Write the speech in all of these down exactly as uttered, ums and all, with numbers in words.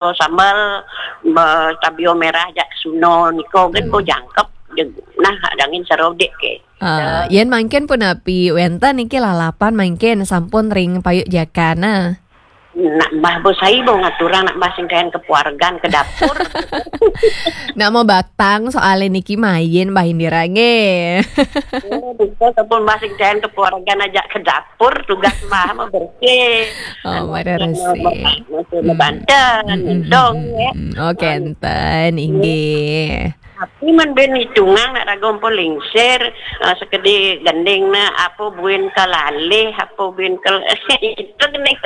sambel, be-, tabio merah jak suno niko gen bo jangkep. Nah, dangin serodik ke. Ah, yen mangkin punapi wenten niki lalapan mangkin sampun ring payuk jakana. Nak mbah bo sai bo ngaturang nak mbah sing kayan kepuargan ke dapur. Nak mau batang soalnya niki main Mbah Indira nggih. Oh, bisa sampun mbah sing kayan kepuargan ajak ke dapur, tugas mbah mah bersih. Oh, anu, pada resik. Masih banten, mm, mm, entong, mm, ya. Mm, mm. Oh, kenten, inggih. Tapi men ben hitungan nak raga ampun lingsir, eh, sekedi gending na apa buin kalalih, apa buin kel-, itu gending.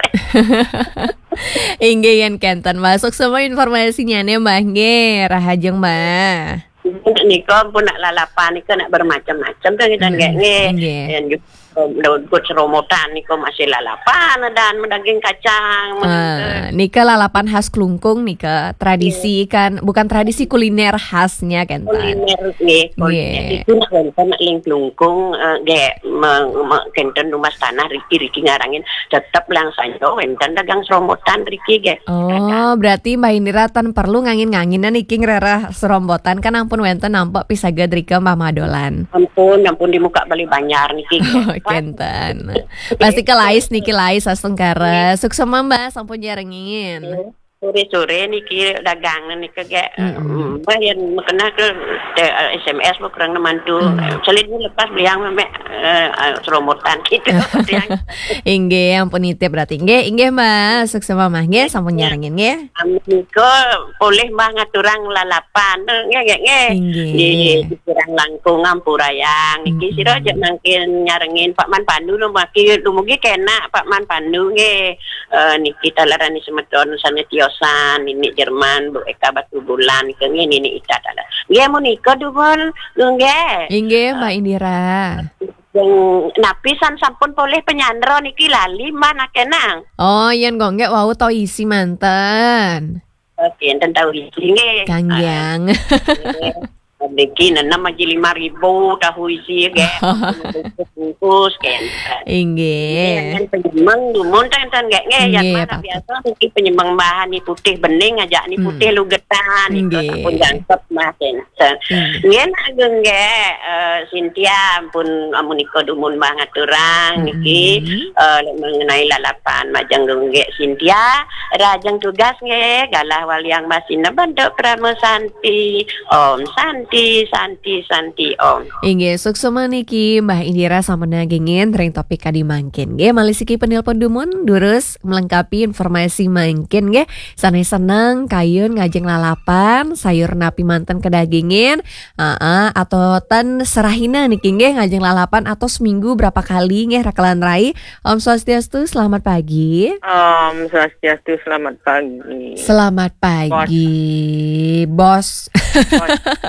Inggih yen kenten masuk semua informasinya nih, Mbah. Nggih, rahajeng, Mbah. Nika pun nak lalapan nika nak bermacam-macam kan kita. Mm-mm. Nggih, nggih. Nggih. Yen juga, eh, daun kut seromotan nika masih lalapan dan daging kacang. Ah, nika lalapan khas Klungkung nika, tradisi. Iya. Kan, bukan tradisi, kuliner khasnya kan, Tan? Kuliner, nggih, kuliner. Nggih. Itu nak wenten nak ling Klungkung, eh, nggih, me-, me-, kenten rumah tanah riki-riki ngarangin tetep lang sanjo wenten dagang seromotan riki nggih. Oh, kadang. Berarti Mbah Indira tan perlu ngangin-nganginan niki ngrereh serombotan kan ampun wenten nampak pisaga drika Mbah Madolan. Ampun, ampun di muka Bali Banjar niki. Oh, kenten. Pasti ke lais niki lais astungkara. Nggih. Suksema Mbah sampun jarengin. Nggih. Sore-sore niki dagang niki ge. Mm-mm. Mbah yen mekena ke te-, S M S bo kurang nemantu. Mm. Selin lepas beliang memek, eh, eh, seromotan gitu. Inggih, ampun nitip berarti. Nggih, inggih, Mbah. Suksema, Mbah. Nggih, sampun nyarengin, nggih. Amin. Nika polih, Mbah, ngaturang lalapan. Nggih, nggih, nggih. Inggih. Nggih, dikirang langkung ampurayang. Niki sira aja mangkin nyarengin Pak Man Pandu no maki dumugi kena Pak Man Pandu nggih. Eh, niki talerani semeton sane tiosan, Nini Jerman, Bu Eka Batu Bulan, niki nggih Nini Ita taler. Nggih, mun nika dumun, nggih. Inggih, Mbak Indira. Yang napi san sampun polih penyandra niki lali, Mbak, nakenang. Oh, yen kok nggih wau tau isi manten. Oke, enten tau isi nggih. Kanggiang. Ah, nggih. Niki nenem aji lima ribu tahu isi nggih. Bungkus, bungkus, nggih. Inggih. Nggih, yang penyemeng dumun ten, ten nggih, nggih, yang nggih, mana apa-apa. Biasa niki penyemeng bahan ni putih bening aja, ni putih lugetan, itu nggih. Sampun jangkep, Mbah, ten. Nggih. Nggih, nak nggih, eh, Cynthia, ampun, amun nika dumun Mbah ngaturang niki, eh, mengenai lalapan majeng nggih Cynthia, rajeng tugas nggih, galah waliang masina bentuk Prama Santi. Om Santi, Santi, Santi, Om. Inggih, suksema niki Mbah Indira sampun nagingin ring topik kadi mangkin. Nggih, malih siki penelpon dumun, durus melengkapi informasi mangkin nggih. Sanés seneng kayun ngajeng lalapan, sayur napi manten kadagingin, aa, atau ten serahina niki nggih ngajeng lalapan atau seminggu berapa kali nggih rakelan rai. Om Swastiastu, selamat pagi. Om Swastiastu, selamat pagi. Selamat pagi, Bos. Bos.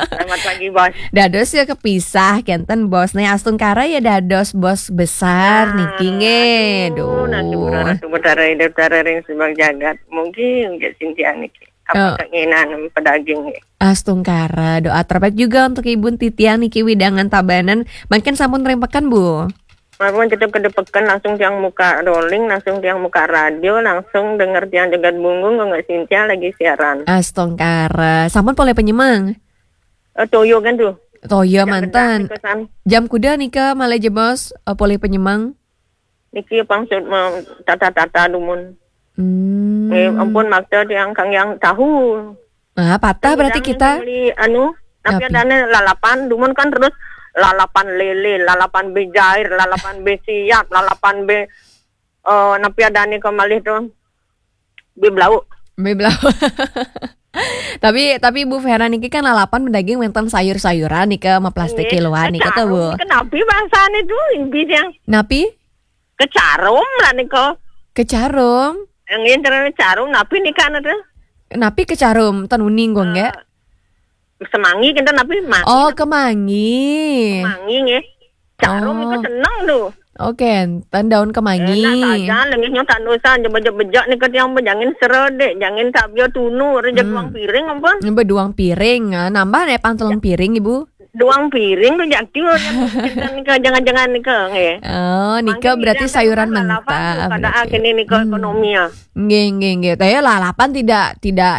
Selamat pagi, Bos. Dados ya kepisah, kenten Bos. Nah, astungkara ya dados Bos besar niki nggih. Aduh, duh. Nah, Tuhan Ratu Betara Ida Betara ring sebag jagat. Mungkin nggih Cynthia niki. Apa keinginan pedaging nggih. Astungkara, doa terbaik juga untuk Ibu Titian niki wewidangan Tabanan. Mangkin sampun ring peken, Bu? Mawon tetep kedepeken langsung tiang muka rolling, langsung tiang muka radio, langsung denger tiang jagat bunggung, kok nggak Cynthia lagi siaran. Astungkara. Sampun polih penyemeng? Eh, toyo kan tuh. Toyo manten. Jam kuda nika malih jebos, eh, polih penyemeng? Niki pangsut tata-tata dumun. Hmm. Eh, ampun makta tiang kang yang tahu. Ah, patah berarti kita. Beli anu, tapi napi? Adane lalapan, dumun kan terus lalapan lele, lalapan be jair, lalapan be siap, lalapan be, eh, napi adane kemalih tuh? Be blau. Be blau. Tapi, tapi Bu Vera niki kan lalapan bedaging wenten sayur-sayuran nika, maplastik kiloan nika tuh, Bu. Nggih, kecarum. Kenapi bahasane tuh, impi tiang? Napi? Kecarum lah nika. Kecarum? Nggih, carane carum, napi nika anu tuh? Napi kecarum, ten uning kok nggih? Eh, semangi kenten napi mangi. Oh, kemangi. Kemangi nggih. Carum nika seneng tuh. Oh. Oke, ten daun kemangi. Enak saja, lengisnya tandusan, jebejek-bejek nika tiang bejangin seredek, jangin sabia tunu, rejek duang piring ampun. Beduang piring, ah, nambah nek pang telung piring, Ibu? Duang piring tu jadi orang nika, jangan-jangan nika, nggih. Oh, nika berarti sayuran mentah. Kada kene nika ekonomi ya. Nggih, nggih, nggih. Tapi lalapan tidak tidak